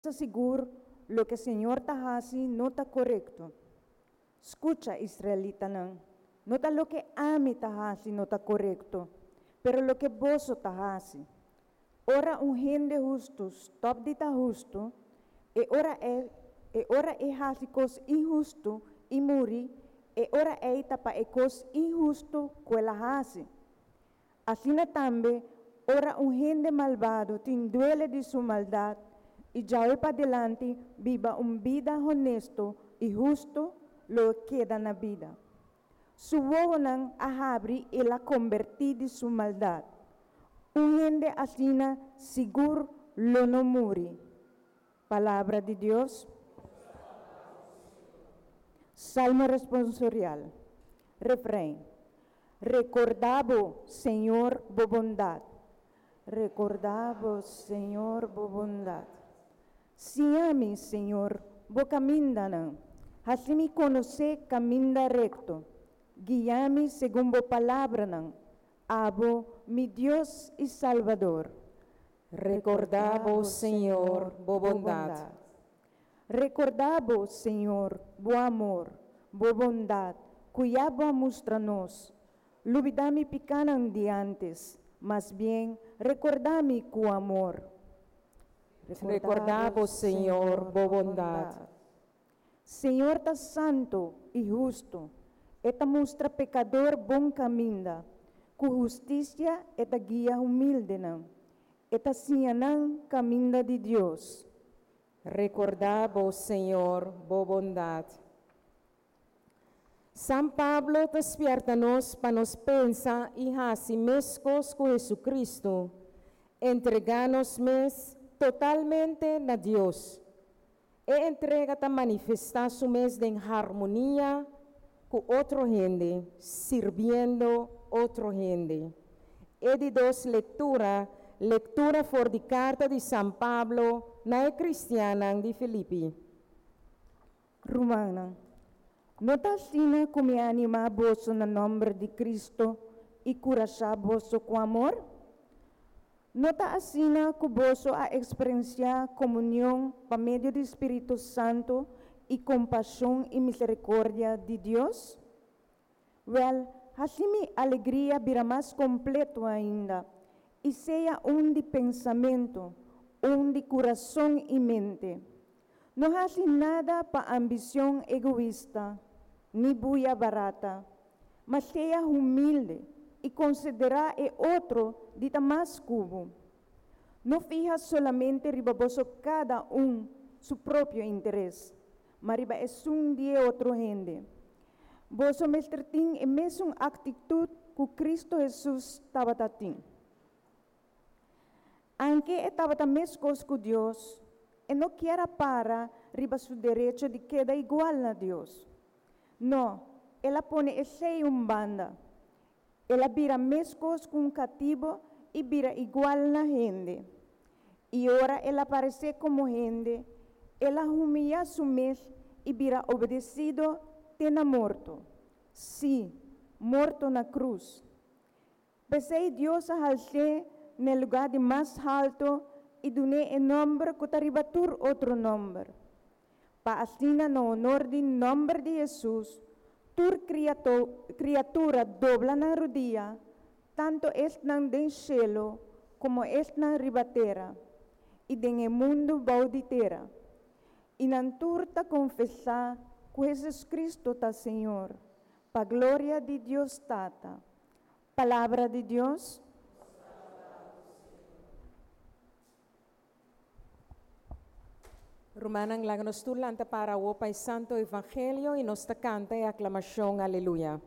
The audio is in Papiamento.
Sa sigur loke Señor ta hasi no ta korekto. Skucha, israelitanan, no ta loke ami ta hasi no ta korekto, pero loke boso ta hasi. Ora un hende hustu stòp di ta hustu, e ora ei e ora e hasi kos inhustu i muri, e ora ei ta pa e kos inhustu ku el a hasi. Asina tambe, ora un hende malbado tin duele di su maldat i djawe padilanti biba un bida honesto i hustu, lo e keda na bida. Su wowonan a habri i el a kombertí di su maldat. Un hende asina sigur lo no muri. Palabra di Dios. Salmo responsorial. Refrein. Rekordá bo, Señor, bo bondat. Rekordá bo, Señor, bo bondat. Siña mi, Señor, bo kamindanan. Hasi mi konosé kaminda rekto. Guia mi segun bo palabranan. Abo, mi Dios i Salbador. Rekordá bo, Señor, bo bondat. Rekordá bo, Señor, bo amor, bo bondat, ku ya bo a mustra nos. Lubidá mi pikánan di ántes, mas bien rekordá mi ku amor. Rekordá bo, Señor, bo bondat. Señor ta santu i hustu, E ta mustra pekador bon kaminda. Ku hustisia E ta guia humildenan, E ta siña nan kaminda di Dios. Rekordá bo, Señor, bo bondat. San Pablo ta spièrta nos pa nos pensa i hasi meskos ku Hesukristu, entregá nos mes totalmente na Dios. E entrega ta manifestá su mes den harmonia ku otro hende, sirbiendo otro hende. E di dos lektura, lektura for di karta di San Pablo na e kristiannan di Filipi. Rumannan, no ta asina ku mi a animá boso na nòmber di Kristu i kurashá boso ku amor? No ta asina ku boso a eksperensiá komunion pa medio di spiritu santu i kompashon i miserikordia di Dios? Wèl, hasi mi alegria bira mas kompleto ainda, i sea un di pensamentu, un di kurason i mente. No hasi nada pa ambishon egoista ni buya barata, ma sea humilde i konsiderá e otro di ta mas ku bo. No fiha solamente riba boso kada un su propio interes, ma riba esun di e otro hende. Boso mester tin e mesun aktitut ku Kristu Hesus tabata tin. Anke e tabata meskos ku Dios, e no kier a para riba su derecho di keda igual na Dios. No, el a pone esei un banda. El a bira meskos ku un katibo i bira igual na hende. I ora el a paresé komo hende, el a humiyá su mes i bira obedesido te na morto, sí, morto na krus. P'esei Dios a hals'é n'e lugá di mas haltu i dun'é e nòmber ku ta riba tur otro nòmber, pa asina na honor di nòmber di Hesus tur kriatura dobla nan rudia, tantu esnan den shelu komo esnan riba tera i den e mundu bou di tera, i nan tur ta konfesá ku Hesus Kristu ta Señor, pa gloria di Dios Tata. Palabra di Dios. Rumannan, laga nos tur lanta para awor pa e Santo Evangelio i nos ta kanta e aklamashon Aleluya.